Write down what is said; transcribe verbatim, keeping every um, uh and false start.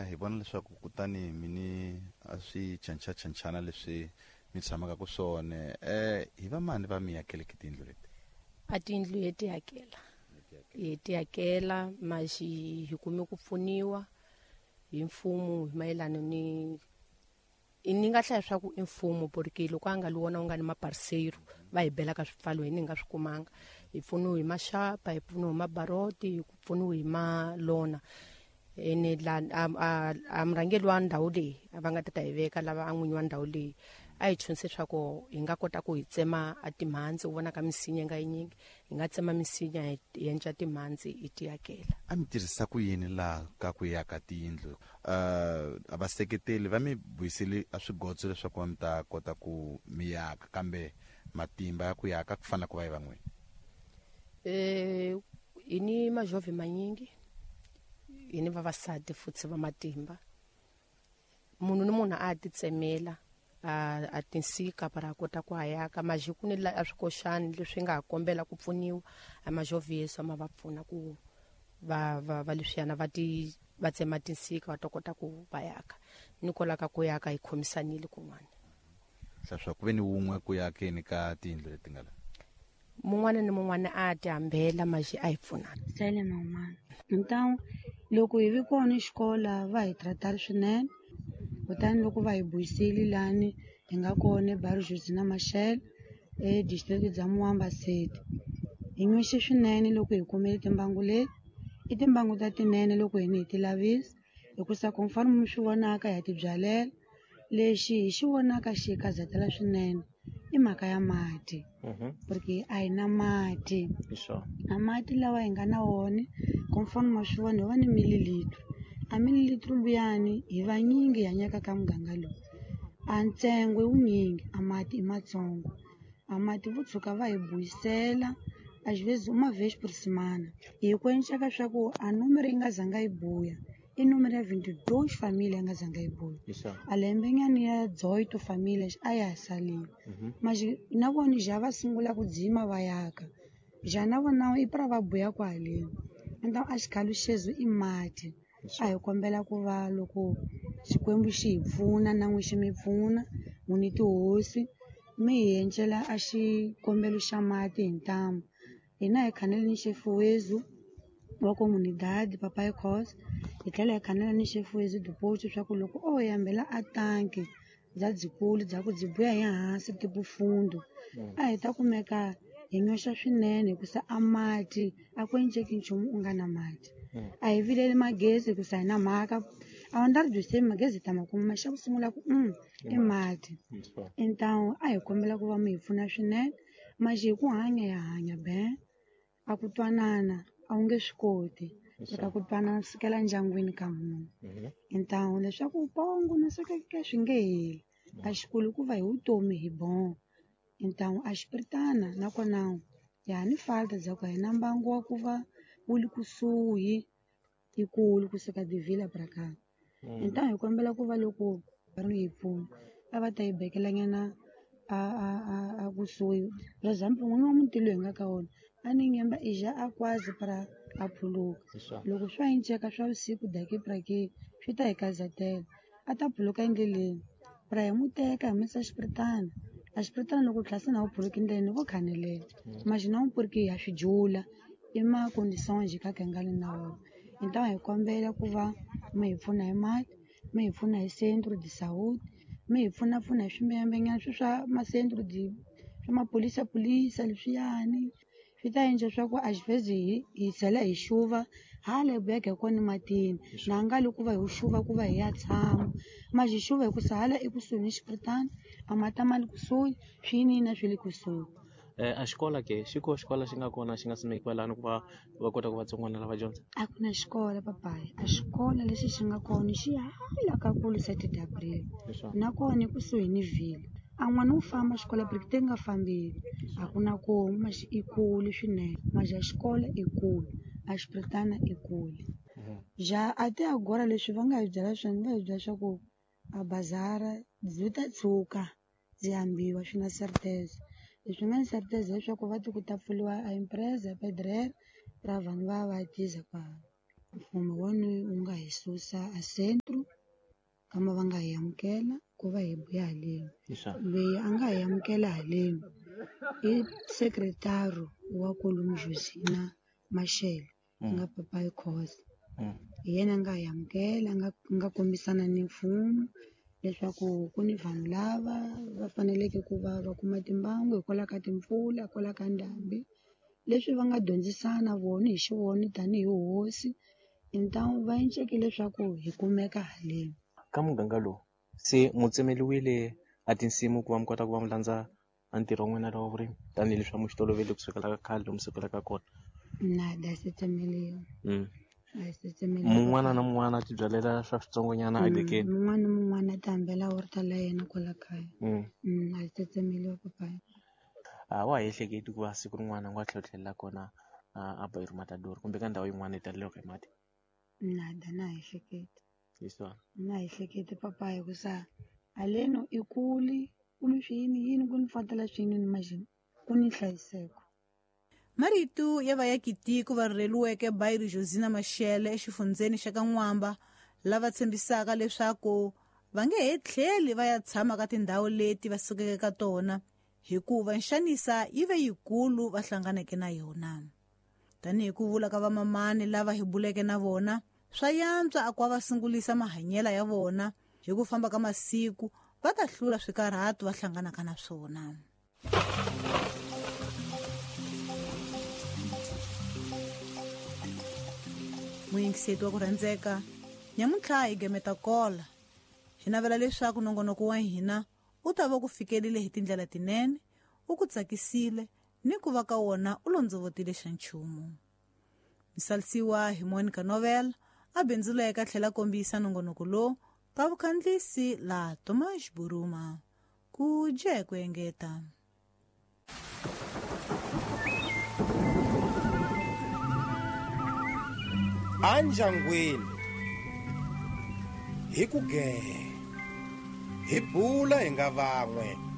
Eh hi vona leswaku kutani mini a swi chancha chanchana leswi mi tshamaka ku swona eh hi va mani va mi yakeleke tindlu leti? A tindlu hi ti yakela. Hi ti yakela maxi hi kume ku pfuniwa hi mfumo hi mayelana ni ni nga hlaya swa ku i mfumo porque loko a nga li wona u nga ni maparceiro va hi bela ka swipfalo hi ni nga swi kumanga. Hi pfuniwe hi maxapa, hi pfuniwe hi mabaroti, hi pfuniwe hi malona. Ene la a a murhangeri wa ndhawu leyi va nga ta ta hi veka lava a n'winyi wa ndhawu leyi a hi chunse swa ku hi nga kota ku hi tsema a timhandzi u vona ka misinya nga yinyingi hi nga tsema misinya hi endla timhandzi hi ti yakela. A mi tirhisa ku yini laha ka ku yaka tiyindlu? Uh, a vaseketeli va mi buyiseli a swigotso leswaku va mi ta kota ku mi yaka kambe matimba ya ku yaka ku fana ku va hi van'wini? Eh hi ni majove manyingi, hi ni vavasati futhi va matimba. Munhu ni munhu a ti tsemela a a tinsika para kota ku hayaka majiku ni la a swikoxani leswi nga kombela ku pfuniwa a majoviso ma va pfuna ku va va va leswiyana va ti va tsema tinsika va ta kota ku va yaka ni kolaka ku yaka hi khomisanile kun'wana. Swa ku ve ni wun'we ku yakeni ka tindlu leti nga la mun'wana ni mun'wana a ti hambela maxi a hi pfunana. Sele man'wana. Então loko hi vi kona xikola va hi tratari swinene kutani loko va hi buyisile lani hi nga kona eBairro Josina Machel e district bya Muamba City. Hi nwixe swinene loko hi kumile timbangu leti. I timbangu ta tinene loko hi ni hi ti lavisa hikusa conforme mi swi vonaka ya ti byalela. Lexi hi xi vonaka xi hi karhatela swinene i mhaka ya mati porque a hi na mati. A mati lawa hi nga na wona conforme ma swi vona hi va ni mililitro. A mililitro luyani hi vanyingi hi hanyaka ka muganga lowu. A ntsengo i wunyingi a mati i matsongo. A mati vo tshuka va hi buyisela às vezes uma vez por semana. Hi ku enceka swa ku a numero yi nga zanga yi buya i numero ya vinte e dois família yi nga zanga yi buya. A lembenyana ya dezoito famílias a ya ha salile. Mas na vona já va sungula ku dzima va yaka. Já na vona i pra va buya kwaleni. Então a xikhalo xexo i mati. A hi kombela ku va loko Xikwembu xi hi pfuna na n'wi xi mi pfuna n'wini tihosi mi hi endlela a xikombelo xa mati hi ntamu. Hina hi khanele ni xefuwezu wa comunidade Papai Cos hi tlhela hi khanela ni xefuwezu depois swa ku loko o yambela a tanki bya byikulu bya ku byi buya hi hansi tipo fundo a hi ta kumeka hi nyoxa swinene hikusa a mati a ku enceki nchumu u nga na mati. A hi vileli magezi hikusa hi na mhaka a wu ndzi ri byi magezi hi ta ma kuma xa ku sungula ku mm i mati. Então a hi kombela ku va mi hi pfuna swinene maxi hi ku hanya ya hanya ben a ku twanana a wu nge swi koti eka ku twanana sukela ndyangwini ka munhu. Então leswaku pongo na swekeke swi nge heli a xikulu ku va hi vutomi hi bon. Então a xipiritana nakona ya ni falta bya ku a hi na mbangu wa ku va wu li kusuhi ikulu kusuka de Vila pra cá. Então hi kombela ku va loko va ri hi pfuna a va ta hi bekela nyana a a a a kusuhi. For example n'wini wa muti loyi hi nga ka wona a ni nyemba i ja a quase pra a phuluka. Loko swa enceka swa vusiku daqui pra aqui swi ta hi kazatela a ta phuluka endleleni pra hi mu teka hi mu yisa xipiritana. A xipiritana loko tlhela na wu phuluka endleleni vo khanelela mas não porque ya swi jula i ma condições ka ka nga le na wona. Então hi kombela ku va mi hi pfuna hi mati, mi hi pfuna hi centro de saúde, mi hi pfuna pfuna hi swimbeyambenyana swi swa ma centro de swa maphorisa pholisa leswiyani swi ta endla swa ku às vezes hi hi tlhela hi xuva hala hi buyaka hi kona matini na nga li ku va hi xuva ku va hi ya tshama mas hi xuva hikusa hala ekusuhi ni xipiritana a mati ma le kusuhi swiyiniyini swi le kusuhi. Eh a xikola ke xi ko xikola xi nga kona xi nga simekiwa lani ku va va kota ku vatsongwana lava dyondza? A ku na xikola papayi a xikola lexi xi nga kona xi hala ka kulu sete de abril nakona ekusuhi ni Vila. A n'wana wu famba xikola porque te nga fambeli a ku na komu maxi i kule swinene mas a xikola i kule a xipiritana i kule. Já até agora leswi va nga hi byela swona va hi byela swa ku a bazara byi ta tshuka byi hambiwa swi na certeza. Leswi nga ni certeza leswaku va ti ku ta pfuriwa a empresa pedreira ra vanhu va va ya tiza kwala. Mfumo wona wu nga hi susa a centro kama va nga hi amukela ku va hi buya haleni. Loyi a nga hi amukela haleni i sekretari wa kolomu Josina Machel nga Papai Khosa. Hi yena a nga hi amukela a nga nga kombisana ni mfumo leswaku ku ni vanhu lava va faneleke ku va va kuma timbangu hikwalaho ka timpfula hikwalaho ka ndhambi leswi va nga dyondzisana vona hi xivona tanihi hosi então va enceke leswaku hi kumeka haleni. Ka muganga lowu se mu tsemeliwile a tinsimu ku va mi kota ku va mi landza a ntirho wa n'wina lowa vurimi tanihileswi a mu xi tolovele kusukela ka khale lomu sukelaka kona? Nada se tsemeliwa. A se tsemeliwa. Mun'wana na mun'wana a ti byalela swa switsongonyana a dekeni. Mun'wana na mun'wana a ti hambela horta la yena kwala kaya. A se tsemeliwa papaya. A wa ha ehleketi ku va siku rin'wana u nga tlhela kona a Bairro Matador kumbe ka ndhawu yin'wana yi taleleke hi mati? Nada na ha ehleketi. Leswiwani. Na ha ehleketi papaya hikusa haleno i kule ku ni swiyini yini ku ni fatela swiyini ni majini ku ni nhlayiseko. Marito ya vayakitiko va rhurheliweke Bairro Josina Machel exifundzeni xa ka N'wamba lava tshembisaka leswaku va nge he tlheli va ya tshama ka tindhawu leti va sukeke ka tona hikuva nxanisa yi ve yikulu va hlanganeke na yona. Tanihi ku vula ka vamamani lava hi buleke na vona, swa yantswa a ku va sungulisa mahanyelo ya vona hi ku famba ka masiku va ta hlula swikarhato va hlanganaka na swona. Muyingiseti wa ku rhandzeka, nyamuntlha hi gemeta kola. Hi navela leswaku nongonoko wa hina wu ta va ku fikelile hi tindlela tinene, wu ku tsakisile ni ku va ka wona u londzovotile xa nchumu. Misalisiwa hi Monica Novel, a bindzuleka tlhela kombisa nongonoko lowu ka vukhandlisi la Tomas Buruma. Ku dye ku engeta. Anjangwini hi ku gee hi bula hi nga van'we.